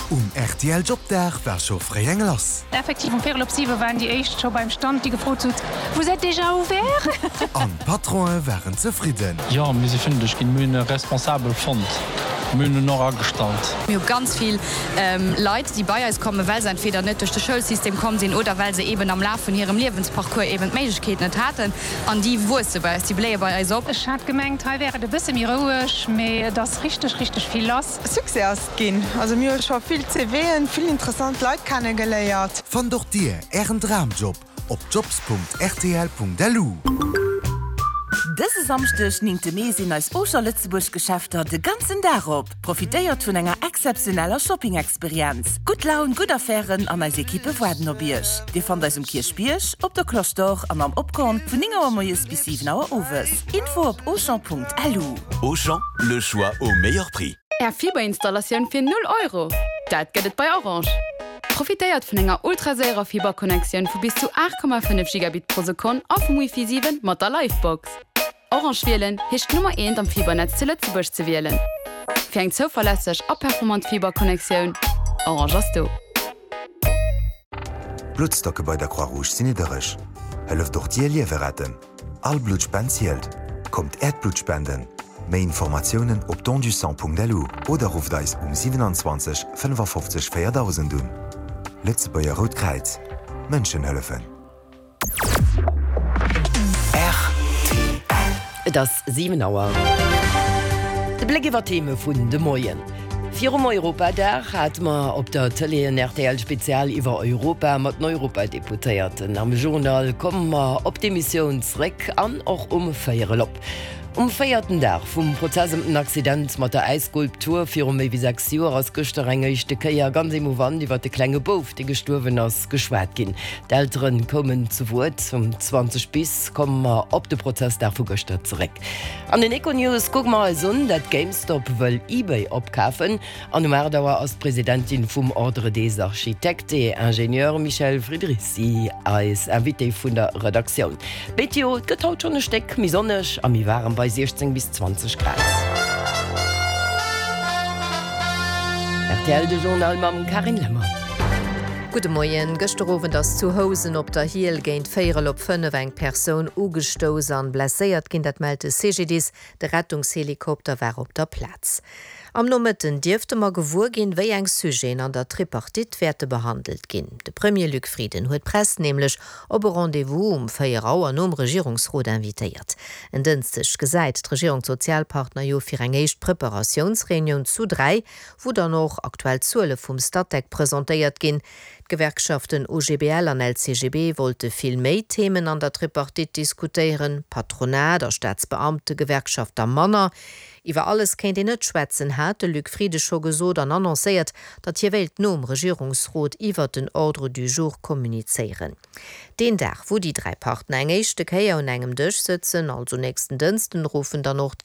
Um rtl Jobdag war scho fréi eng lass. Effektiv, um véierel op siwe waren déi éischt scho beim Stand, déi gefrot hunn, Vous êtes déjà ouvert? An d'Patronen waren zefridden. Jo, mir si fündeg ginn. Mir hunn e Responsabel fonnt. Mir hunn en och agestallt. Mir hu ganz vill Leit, déi bei eis kommen, well se entweder net duerch de Schoulsystem komm sinn oder well se eeben am Laf vun hirem Liewensparcours eeben d'Méiglechkeet net haten. An déi wuesse bei eis, déi bléie bei eis op. Ech hat gemengt, hei wär et e bësse méi roueg, mee et ass richteg, richteg vill lass. Succès ass et ginn. Also mir hu scho vill CVen, vill interessant Leit kennegeléiert. Fannt och dir ären Dramjob op jobs.rtl.lu. Dëse Samschdeg, 9 Mee, sinn eis Auchan Lëtzebuerg Geschäfter de ganzen Dag op. Profitéiert vun enger exzeptioneller Shopping-Experienz. Gutt Laun, gutt Affären an eis Ekippe waarden op Iech. Dir fannt eis um Kierchbierg, op der Cloche d'Or an am Opkorn vun 9 Auer moies bis 7 Auer owes. Info op auchan.lu. Auchan, le choix au meilleur prix. Är Fiberinstallatioun fir 0 Euro! Dat gëtt et bei Orange! Profitéiert vun enger ultraséierer Fiberconnectioun vu bis zu 8,5 Gigabit pro Sekonn a vum Wifi 7 mat der Livebox. Orange wielen heescht d'Nummer eent am Fibernetz zu Lëtzebuerg ze wielen. Fir eng zouverlässeg a performant Fiberconnectioun, Orange ass do! D'Bluttstocke bei der Croix-Rouge sinn niddereg. Hëlleft och Dir Liewe retten! All Bluttspend zielt! Kommt Äert Blutt spenden! Méi Informatiounen op dondusang.lu oder rufft eis um 27 55 4000 un. Lëtzebuerger Rout Kräiz, Mënschen hëllefen. Et ass 7 Auer. De Bléck iwwer d'Theme vun de Moien. Virum Europadag hate mer op der Tëlee en RTL-Spezial iwwer Europa mat den Europadeputéierten. Am Journal komme mer op d'Emissioun zréck an och um Véierel op. Um véierten Dag vum Prozess ëm den Accident mat der Äisskulptur viru méi wéi 6 Joer ass gëschter eng éischte Kéier ganz emouvant iwwer de klenge Bouf, dee gestuerwen ass, geschwat ginn. D'Eltere koumen zu Wuert. Um 20 bis komme mer op de Prozessdag vu gëschter zeréck. An den Econews kucke mer eis un, dat GameStop wëll eBay opkafen. An um 8 Auer ass d'Presidentin vum Ordre des Architectes et Ingénieurs Michèle Friedrici eis Invitée vun der Redaktioun. D'Meteo, Et gëtt haut schonn e Stéck méi sonneg a méi waarem bei 16 bis 20 Grad. Rtl, De Journal mam Carine Lemmer. Gudde Moien. Gëschter Owend ass zu Housen op der Hiel géint véierel op 5 eng Persoun ugestouss an blesséiert ginn. Dat mellt de CGDIS. De Rettungshelikopter war op der Plaz. Am Nomëtten dierfte mer gewuer ginn, wéi eng Sujeten an der Tripartite wäerte behandelt ginn. De Premier Luc Frieden huet d'Press nämlech op e Rendez-vous um 4 Auer nom Regierungsrot invitéiert. En Dënschdeg gesäit d'Regierung d'Sozialpartner jo fir eng éischt Preparatiounsreunioun zu 3, wou dann och aktuell Zuele vum Statec presentéiert ginn. D'Gewerkschaften OGBL an LCGB wollte vill méi Themen an der Tripartite diskutéieren, Patronat a Staatsbeamtegewerkschaft der manner. Iwwer alles kéint een net schwätzen, hat de Luc Frieden scho gesot an annoncéiert, datt hie wéilt nom Regierungsrot iwwer den Ordre du jour kommunizéieren. Deen Dag, wou déi 3 Partner eng éischte Kéier un engem Dësch sëtzen, also nächsten Dënsten, ruffen dann och d'Gewerkschaften.